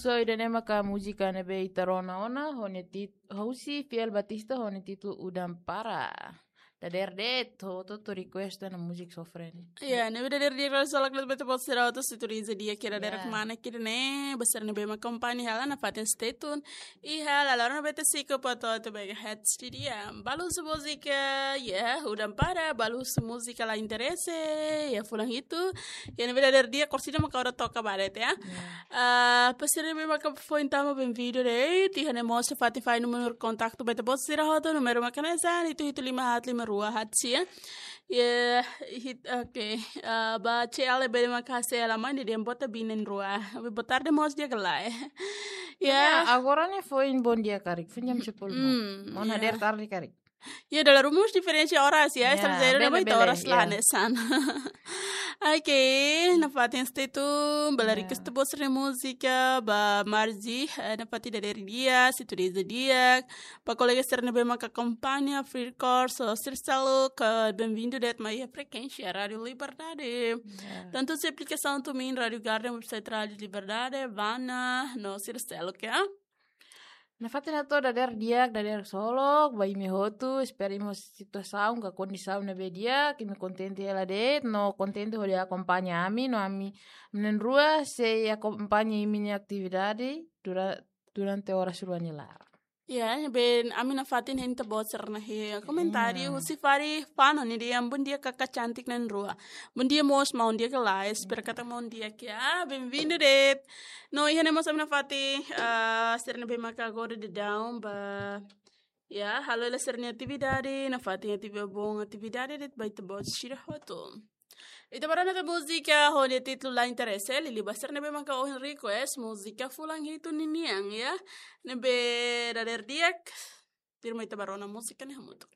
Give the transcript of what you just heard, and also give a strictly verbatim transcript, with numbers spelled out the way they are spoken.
So, ida-ne'e maka múzika ne'ebé ita rona ona, ho nia tit-, husi Fiel Batista, ho nia títulu Udan Para. Dadeer de'it, hotu-hotu request ona múzika sofre ne'e. Ya, ne'ebé dadeer di'ak, ha'u hato'o knaar ba ita-boot sira hotu, sintonia di'ak iha dadeer Ya. Mana kiri ne'e, ba sira ne'ebé mak akompaña hela nafatin stay tune. Iha lalor noventa e cinco ponto oito megahertz di'ak. Balu husi múzika, ya, Udan Para, balu husi múzika La Interese, ya, fulan hitu. Ya, ne'ebé dadeer di'ak, korsida maka ha'u toka ba de'it, ya. Ya. Ah, ba sira ne'ebé maka foin tama, benvindu de'it. Iha ne'e mós fatin fali númeru kontaktu ba ita-boot sira hotu, númeru maka hanesan, hitu hitu lima haat lima rua haat sia. Ya, hit-, oke. Ah, ba C L B maka C L aman di dia bota binen rua. Boa tarde mós di'ak ka lae. Ya. Ya, agora ne'e foin bondia karik, foin jam sepuluh. Hmm, Maun ya. Hadeer tarde karik. Ya, dala ruma mós diferensa oras ya, Ya, estranjeiru ne'e bele, ba ita bele, oras ya. Hanesan. Oke, nafatin stay tune, bele Ya. Request ita-boot sira-nia múzika, ba Marzi, eh, nafatin dadeer di'ak, sintonia di'ak, ba kolega sira ne'ebé maka akompaña, Free Course, so, sira seluk, benvindu de'it mai iha frekuénsia Rádiu Liberdade. Ya. Tantu husi aplikasaun TuneIn, Rádiu Garden, website Rádiu Liberdade, Vana, no sira seluk, ya. Nafatin hato'o dadeer di'ak, dadeer solok ba imi hotu, espera imi ho situasaun ka kondisaun ne'ebé di'ak, imi kontente hela de'it, no kontente hodi akompaña ami, no ami na'in-rua sei akompaña imi-nia atividade dura-, durante oras rua nia laran. Ya, ne'ebé ami nafatin hein ita-boot sira-nia komentáriu, Ya. Husi Fari Fano nia dehan, "Bondia kaka cantik na'in-rua." Bondia mós maun di'ak ka lae, espera katak maun di'ak ya. Benvindu de'it. No iha ne'e mós ami nafatin, ah, sira ne'ebé maka agora daudaun ba, ya, halo hela sira-nia atividade, nafatin atividade, bom atividade de'it ba ita-boot sira hotu. Ita bá rona tan múzika ho nia títulu La Interese, liuliu ba sira ne'ebé maka ohin request múzika fulan hitu ninian, ya. Ne'ebé dadeer di'ak, tuirmai ita bá rona múzika ne'e hamutuk.